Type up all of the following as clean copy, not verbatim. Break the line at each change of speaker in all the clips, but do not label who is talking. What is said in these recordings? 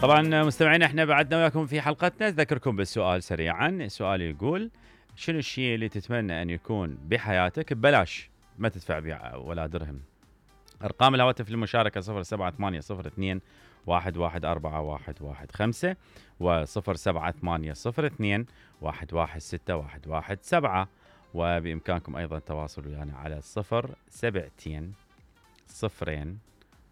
طبعا مستمعينا احنا بعدنا وياكم في حلقتنا. اذكركم بالسؤال سريعا. السؤال يقول شنو الشيء اللي تتمنى ان يكون بحياتك ببلاش ما تدفع به ولا درهم؟ ارقام الهواتف للمشاركه 07802 1141115 و07802 116117 وبامكانكم ايضا التواصل ويانا على 072 0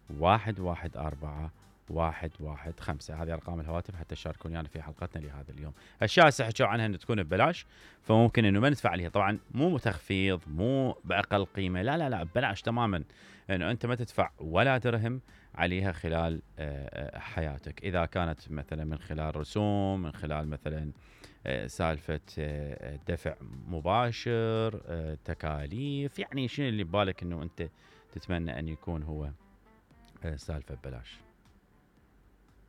114 115. هذه ارقام الهواتف حتى تشاركون يعني في حلقتنا لهذا اليوم. اشياء حكوا عنها ان تكون ببلاش فممكن انه ما ندفع عليها، طبعا مو تخفيض مو باقل قيمه، لا لا لا ببلاش تماما، انه انت ما تدفع ولا درهم عليها خلال حياتك. اذا كانت مثلا من خلال رسوم، من خلال مثلا سالفه دفع مباشر، تكاليف، يعني شنو اللي ببالك انه انت تتمنى ان يكون هو سالفه ببلاش؟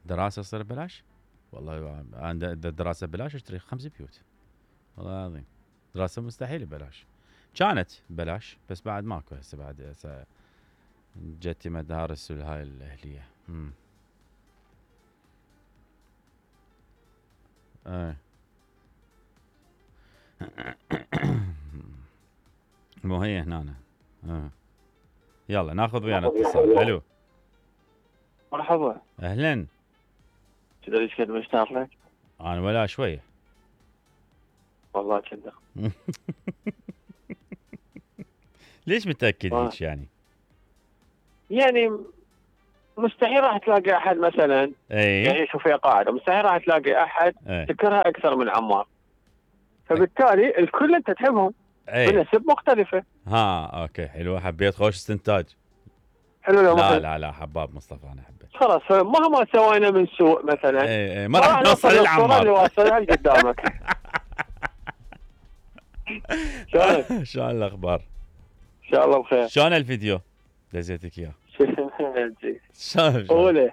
دراسه تصير ببلاش؟ والله انا دراسه ببلاش اشتري 5 بيوت، والله العظيم. دراسه مستحيل ببلاش، كانت ببلاش بس بعد ماكو هسه، بعد جتي مدارس والهاي الاهليه. مو هي هنا. يلا ناخذ ويانا اتصال. الو
مرحبا.
اهلا.
كذا ليش كنت مشتاق لك؟
انا ولا شويه
والله كذا.
ليش متاكد هيك يعني؟
يعني مستحيل راح تلاقي احد مثلا يعني شوف هي قاعده، مستحيل راح تلاقي احد تكرهه اكثر من عمار، فبالتالي الكل انت تحبهم بنسب مختلفه.
اوكي حلو، حبيت خوش استنتاج.
حلو.
لا لا لا حباب مصطفى، انا حبيت.
خلاص مهما سوينا من سوء مثلا
ما راح نوصل للعمار
اللي واصلها قدامك.
شلون الاخبار؟
ان شاء الله بخير.
شلون الفيديو دزيتك اياه؟
شلون قوله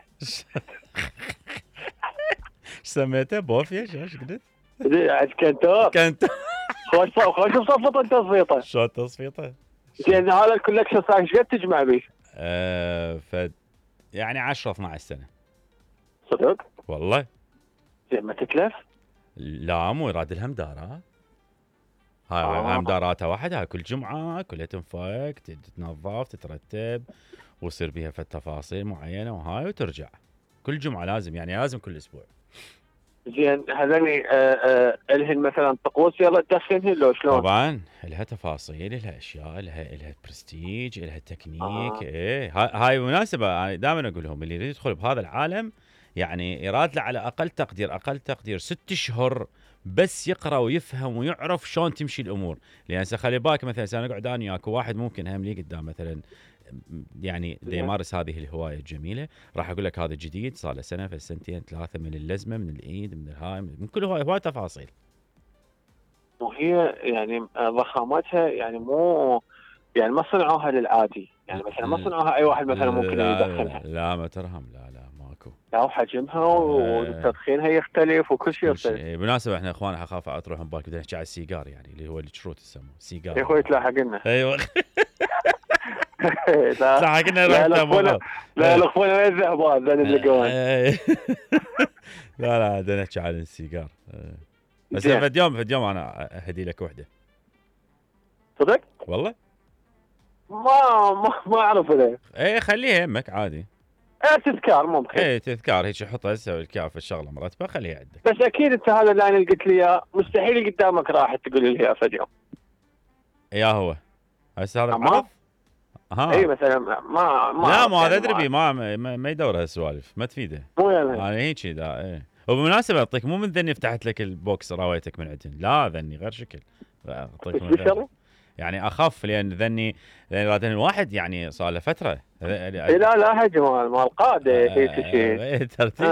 سميته بوفيا؟ ايش قلت؟
كنتور خوش بصفطه تصفيطه.
شلون تصفيطه؟
زين هذا الكولكشن صار ايش قد تجمع به؟
يعني 10 12 سنه.
صدق؟
والله.
زين ما تتلف؟
لا مو يراد لها مدارات. هاي مداراتها واحده، كل جمعه كلها تنفك تتنظف تترتب ويصير بيها في تفاصيل معينه وهاي وترجع كل جمعه لازم، يعني لازم كل اسبوع.
زين هذني الهن مثلا طقوس يلا تدخلهن لو شلون؟
طبعا لها تفاصيل، لها اشياء، لها برستيج، لها تكنيك. هاي مناسبه. انا دائما اقول لهم اللي يريد يدخل بهذا العالم يعني يراد له على اقل تقدير 6 اشهر بس يقرا ويفهم ويعرف شلون تمشي الامور. لان خلي بالك مثلا انا اقعد انا وياك وواحد ممكن هم لي قدام مثلا يعني يمارس هذه الهوايه الجميله، راح اقول لك هذا جديد صار له سنه في سنتين ثلاثه، من اللزمه من الايد من الهاي من كل هوايه تفاصيل.
وهي يعني ضخامتها يعني مو يعني ما صنعوها للعادي، يعني مثلا ما صنعوها اي واحد مثلا ممكن يدخلها.
لا ما ترهم، لا ماكو.
لا وحجمها وتدخينها يختلف وكل شيء يختلف.
بالمناسبه احنا اخوان اخاف اطرح من بالك بدنا نحكي على السيجار، يعني اللي هو الشروط يسموه سيجار.
يا اخوي تلاحق لنا.
ايوه تلاحق لنا.
لا الاخوان وين الذهبات ذن اللقون.
لا بدنا نحكي على السيجار. بس فد يوم انا اهدي لك وحده.
صدق؟
والله
ما اعرف له.
خليها يمك عادي.
تذكار ممكن.
تذكار هيك حطها تسوي الكاف الشغله مرتبه خليها عندك.
بس اكيد انت هذا اللي انا قلت لي اياه مستحيل قدامك راح تقول لي اياه فد يوم.
يا هو هسه هذا عرض.
اي مثلا
ما هذا ادري ما يدور هالسوالف ما تفيده.
مو يعني
انا هيك دا. وبالمناسبه اعطيك مو من ذني فتحت لك البوكس راويتك من عندهن، لا ذني غير شكل. اعطيك من غير يعني اخف، لان ذني رادن الواحد يعني صار له فتره.
لا هجم مال قاده هيك شيء
ترتيب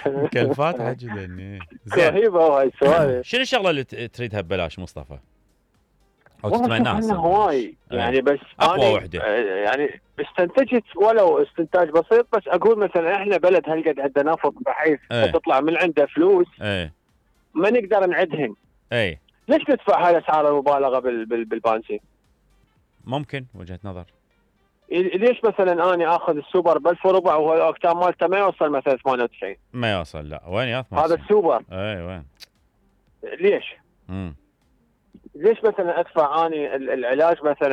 مكلفات حجي ذني.
رهيبه هاي السوالف.
شنو الشغله اللي تريدها ببلاش مصطفى؟ او تتمناها
هواي يعني بس
اقوى وحده
يعني استنتجت ولو استنتاج بسيط، بس اقول مثلا احنا بلد هالقد عندنا نفط بحيث تطلع من عنده فلوس ما نقدر نعدهن. ليش ندفع هاي الاسعار المبالغه بالبنزين؟
ممكن وجهه نظر.
ليش مثلا اني اخذ السوبر ب 1004 وهو الاوكتان مالته ما يوصل مثلا 98؟
ما يوصل، لا وين يا
98 هذا السوبر.
اي وين؟
ليش؟ ليش مثلا ادفع اني العلاج مثلا